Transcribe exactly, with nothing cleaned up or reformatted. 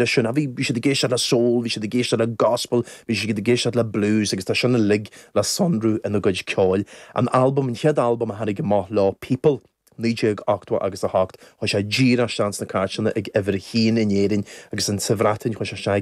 Sin a bhí siad ag éisteacht le soul, bhí siad ag éisteacht le gospel, bhí siad ag éisteacht le blues agus tá sin uilig le sonrú ina gcuid ceoil. An album an chéad album a tháinig amach leo People. naoi déag ochtó agus a hocht chuaigh sé díreach isteach sna cairteanna ag uimhir a haon in Éirinn agus an sa Bhreatain chuaigh sé